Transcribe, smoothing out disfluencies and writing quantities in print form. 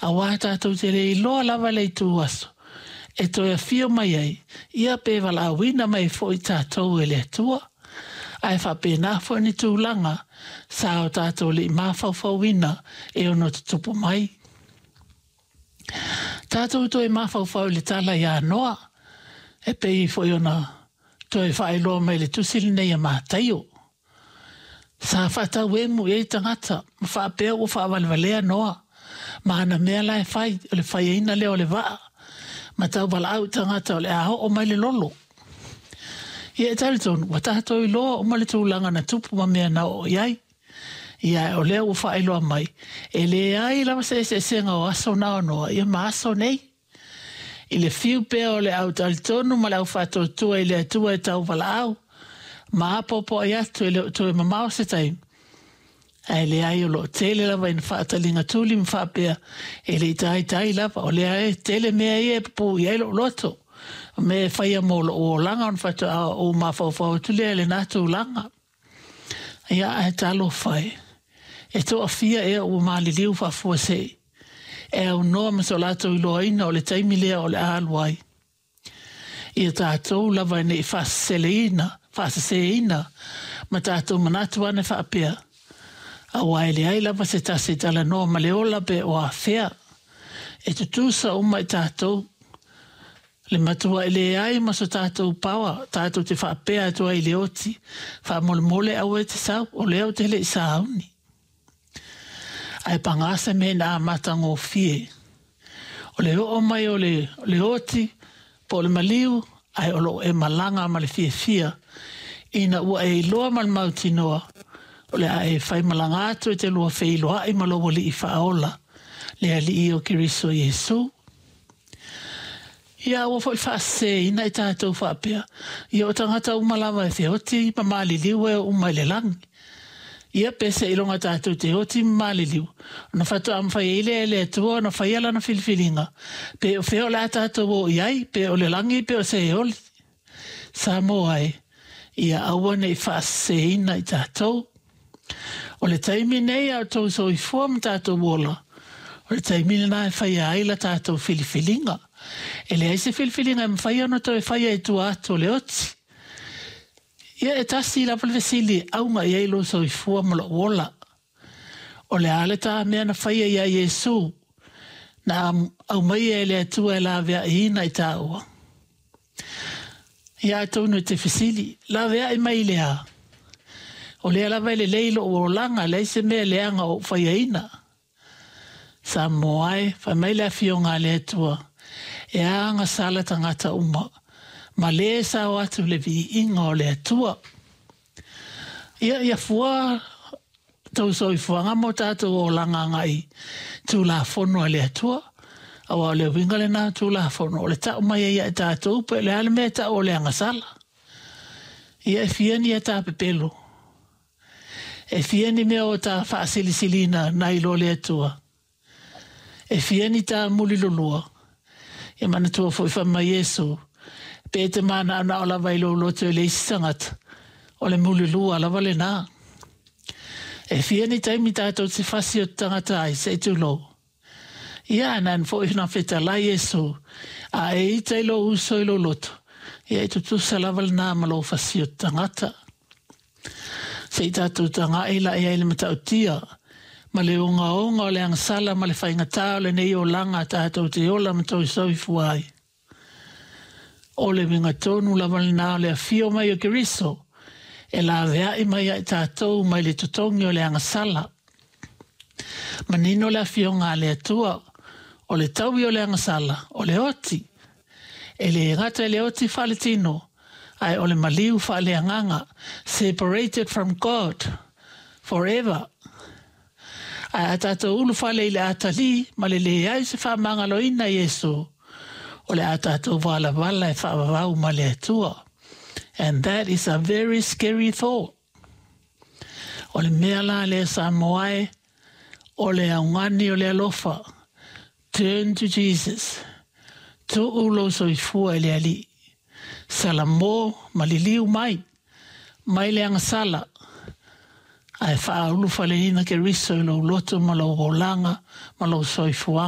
Aua tatou te le iloa lava le itu aso e toe afio mai ai, ia pe valaauina mai foi tatou e le Atua. Ae faapena foi ni tulaga sa o tatou le i mafaufauina e ono tutupu mai. Tatou toe mafaufau i le tala ia Noa, e pei foi ona toe faailoa mai i le tusi lenei a Mataio. Sa faatauemu i ai tagata ma faapea ua faavalevalea Noa ma ana mea la e fai, o le faiaina lea o le vaa ma tauvalaau i tagata o le a oo mai le lolo. Ia e talitonu ua tatou iloa uma le tulaga na tupu ma mea na oo i ai. Ia o lea ua faailoa mai, e leai lava se eseesega o aso na o Noa ia ma aso nei. I le fiu pea o le au talitonu ma le au faatuatua i le Atua e tauvalaau, ma apoapoai atu e le o toe mamao se taimi, ae leai o lo o tele lava ina faataliga tuli ma faapea, e le i taitai lava, o lea e tele mea ia e pupuu i ai lou loto, o mea e faia mo lou olaga ona faatoa ou mafaufau atu lea i lena tulaga. Ia ae talofa e, e toafia ea ua maliliu faafuasei, e aunoa ma so latou iloaina o le taimi lea o le a alu ai. Ia tatou lava ne i faaseseina ma tatou manatu ane faapea, aua e leai lava se tasi e talanoa ma le ola pe o afea. E tutusa uma i tatou, le matuai leai ma so tatou paoa tatou te faapea atu ai i le oti, faamolemole aua e te sau, o lea ou te le i sauni. Ae paga se mea ina amatagofie. O le oo mai o le oti po o le maliu, ae o loo e malaga ma le fiafia, ina ua e iloa ma le mautinoa, o le a e faimalaga atu e te lua feiloai ma lou Alii faaola, le Alii o Keriso Iesu. Ia aua foi faaseseina i tatou faapea, ia o tagata uma lava e feoti ma maliliu e oo uma i le lagi. Ia pe seiloga tatou te oti ma maliliu, ona faatoa mafai ai lea e le Atua ona faia lana filifiliga, pe o fea o le a tatou o i ai, pe o le lagi pe o Seoli. Samoa e, ia aua ne i faaseseina i tatou. O le taimi nei a o outou soifua ma tatou ola, o le taimi lena e faia ai la tatou filifiliga. E leai se filifiliga e mafai ona toe faia i tua atu o le oti. Ia e tasi lava le fesili e auga i ai lou soifua ma lou ola. O le a le ta mea na faia iā Iesu, na aumaia e le Atua e laveaiina i tāua? Ia atonu e te fesili, laveai mai i le a? O lea lava e lelei lou olaga, leai se mea leaga o ou faiaina. Samoa e, fai mai le Afioga a le Atua, e agasala tagata uma, ma lē sao atu le viiga o le Atua. Ia, ia fua tou soifuaga ma o tatou olaga agai Tulafono a le Atua, aua o le uiga lena o Tulafono, o le tau mai ai ia i tatou pe o le a le mea e tau o le agasala. Ia e fia ni e tā pepelo, e fia ni mea o tā faasilisiliina nai lo le Atua, e fia ni tā mulilulua. Ia manatua foi fai mai Iesu, pe e te manaonao lava i lou loto i le isi tagata, o le mulilua lava lena. E fia ni taimi tatou te fasi o te tagata ai, se i tulou. Ia, ae nāna foi na fetalai Iesu, a e ita i lou uso i lou loto, ia e tutusa lava lena ma lou fasi o te tagata. Se i tatou taga'i la i ai le matautia ma le ogaoga o le agasala ma le faigata o lenei olaga tatou te ola ma toe soifua ai. O le uiga tonu lava lena o le afio mai o Keriso, e laveai mai ai tatou mai le totogi o le agasala. Manino le afioga a le Atua, o le taui o le agasala, o le oti. E le gata i le oti faaletino, ae o le maliu faaleagaga, separated from God forever. Ae a tatou ulufale i le atalii ma le leai o se faamagaloina i Iesu, o le a tatou valavala e faavavau ma le Atua. And that is a very scary thought. O le mea la lea Samoa e, o le augani o le alofa, turn to Jesus. Tuu lou soifua i le Alii. Salamo ma liliu mai, mai le agasala, ae faaulufaleina Keriso i lou loto ma lou olaga ma lou soifuaga.